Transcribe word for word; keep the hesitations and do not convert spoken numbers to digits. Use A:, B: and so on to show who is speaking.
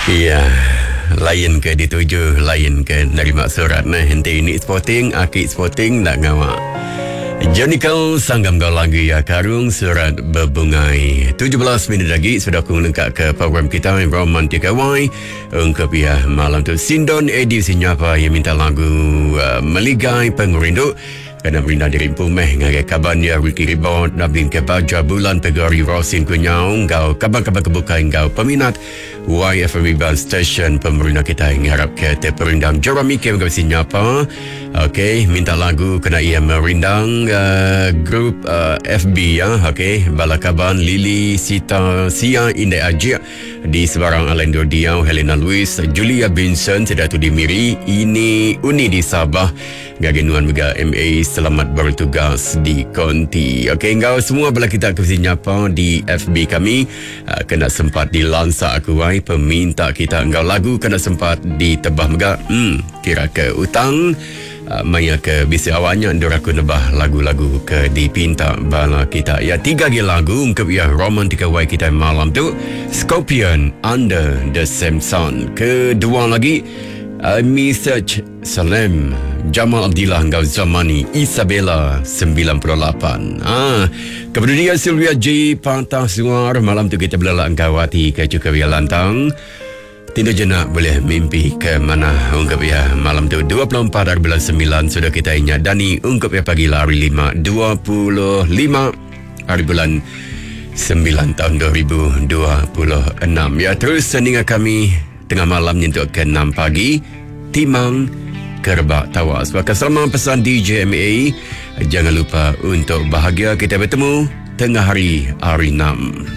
A: Iya, lain ke dituju, lain ke nerima surat nah. Henti ini sporting, aki sporting nak ngawak. Johnny Sanggam kau lagu ya Karung Surat Berbungai. tujuh belas minit lagi sudah aku lengkap ke program kita Romantik Y. Ungkap ya malam tu Sindon Edi Sinyapa yang minta lagu uh, Meligai Pengerindu. Kena merindang diri pumeh ngagai kaban ya Ricky Ribot, Nabin Kebaja Bulan Pegari Rosin Kunyau, ngau kaban-kaban kebuka ngau peminat Y F M Iban Station pemerintah kita ngarap ke terperindang Jeremy Kim ngau sinyapa. Okey, minta lagu kena ia merindang uh, grup uh, F B ya. Okey, bala kaban Lily Sita Sia Indai Ajik di sebarang Alain Diau, Helena Louis, Julia Vincent sudah tu di Miri, ini Uni di Sabah. Ngagai nuan mega M A selamat bertugas di Konti. Okey, engkau semua bala kita ke nyapa di F B kami. Uh, kena sempat dilansak aku ai peminta kita engkau lagu kena sempat ditebah mega. Hmm, kira ke utang. Uh, maya ke bisi awaknya ndur aku nebah lagu-lagu ke dipinta bala kita. Ya, tiga lagi lagu untuk ya Romantika Y kita malam tu. Scorpion Under the Same Sun. Kedua lagi uh, Message Salam Jamal Abdillah engkau Zamani Isabella sembilan puluh lapan. Ah, kepada dia Sylvia J Patah Suar malam tu kita berlelak engkau hati ke cukup ya lantang. Tidur jenak boleh mimpi ke mana ungkap ya malam tu dua puluh empat hari bulan sembilan sudah kita ingat Dani ungkap ya pagi lari lima dua puluh lima hari bulan sembilan tahun dua ribu dua puluh enam. Ya, terus sendingan kami tengah malam nyentuh ke enam pagi Timang Kerbak Tawas. Maka selama pesan D J M A, jangan lupa untuk bahagia. Kita bertemu tengah hari hari enam.